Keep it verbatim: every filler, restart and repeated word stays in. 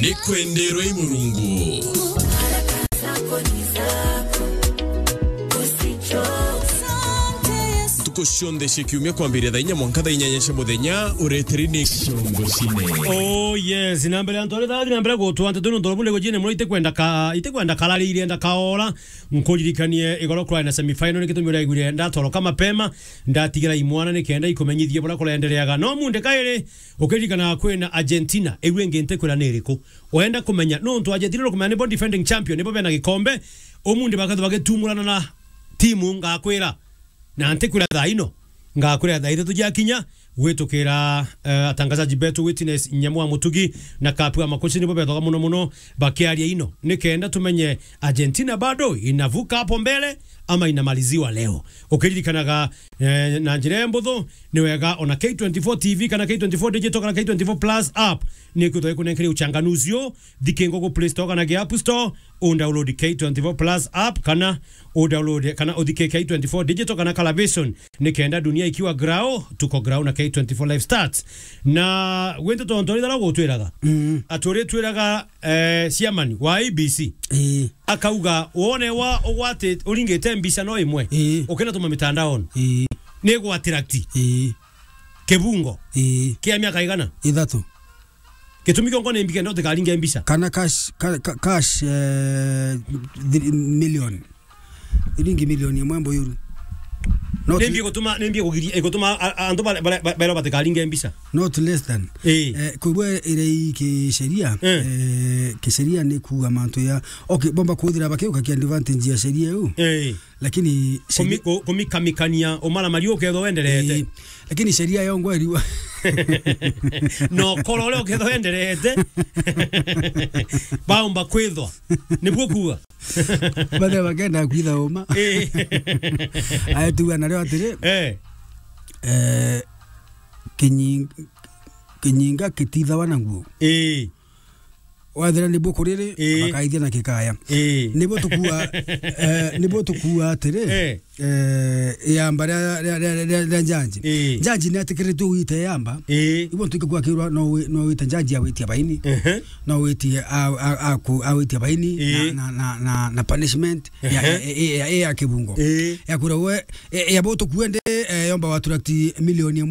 Ni kwenderwa i Murungu. Ntuku cionthe cia kiumia kwambiria thaa inya mwanka thaa inyanya cia muthenya, ureteri ni Kiongo Cine. Oh yes, na mbere antu aria thathi na mbere gutwa nteto nontu bunde gujine muno itikwenda ka, itikwenda karari irenda kaora. Nkuririkanie igoro kwa na semi final ni gitumi uraiguire ndatoroka mapema, ndatigira imwana ni kenda ikumenyithie bura kurendereaga. No munde kairi, ukiririkana kwina Argentina, iu ingi ntikwira ni iriku. Wenda kumenya, nontu Argentina nukumenya nibo defending champion, nibo bena gikombe, umundi bakathu bagitumurana na timu ngakwira. Na ntikwira thaa ino, ngakwira thaa ithatu ciakinya, gwitukira, eh, atangazaji betu Witness Nyamu wa Mutugi na Kapu wa Makuci nibo bethaga muno muno bakiaria ino. Ni kenda tumenye Argentina bado inavuka hapo mbele ama inamaliziwa leo. Ukiririkanaga, eh, na njira ya mbuthu, ni wega ona K twenty-four T V kana K twenty-four Digital kana K twenty-four Plus app ni kwithwa ikunenkeria uchanganuzi uu. Thikingo ku Play Store kana ki App Store, u download K twenty-four Plus app kana u download kana uthike K twenty-four Digital kana Color Vision. Ni kenda dunia ikiwa grao, tuko grao na K twenty-four Live Stats. Na gwintu tontu ri thara gutwiraga. Mm. Aturi twiraga, eh, chairman wa A B C. Ii. Akauga, wone wa ugwati uringite mbica no imwe. Ii. Ukinatuma mitandaoni. Ii. Ni gwa attract. Ii. Kibungo. Ii. Kia miaka igana? Ithatu. Gitumi kiongo ni mbi kenda utikaringe mbica. Kana cash, ka-, ka-, cash, eh, thiri-, million. Thiringi milioni imwe mbuyuru. Not ni mbi gutuma, ni mbi kugiria, gutuma a-, a-, antu bare-, bare-, bare-, baria batikaringe mbica. Not less than. Ii. Eh, kwigua iri i kisheria, eh, kisheria ni kuuga mantu ya, okay, bomba kuthira bakiuka ki advantage ya sheria iu. Ii. Lakini kumi-, sheria ku-, kumikamikania umaramari ukethwa wenderete. Ii. Lakini sheria yongwa iriwa. No koro uria ukethwa wenderete. Baumba kwithwa. Nibuo kuuga. Bathe bakenda kwitha uma. Ii. Aya tuga nario atiri. Eh. Eh, kinyi-, kinyinga kitithawa na nguo. Ii. Wathira nibuo kuriri, ii, bakaithia na kikaya. Ii. Nibuo tukua, eh, nibuo tukua atiri, eh, eh, yamba ria, ria, ria, ria, ria njanji. Ii. Njanji ni atikiritue wite yamba. Ii. Ibuo ntuike kwakirwa no wi-, no wite njanji ya witia baini. Ehe. No witie a, a, a, ku-, a witia baini, ii, na, na, na, na, na punishment ya, ehe, ya, ya, ya, ya kibungo. Ii. Ya kura we, e, ya bo tukue ndi, eh, yomba wa attract milioni imwe.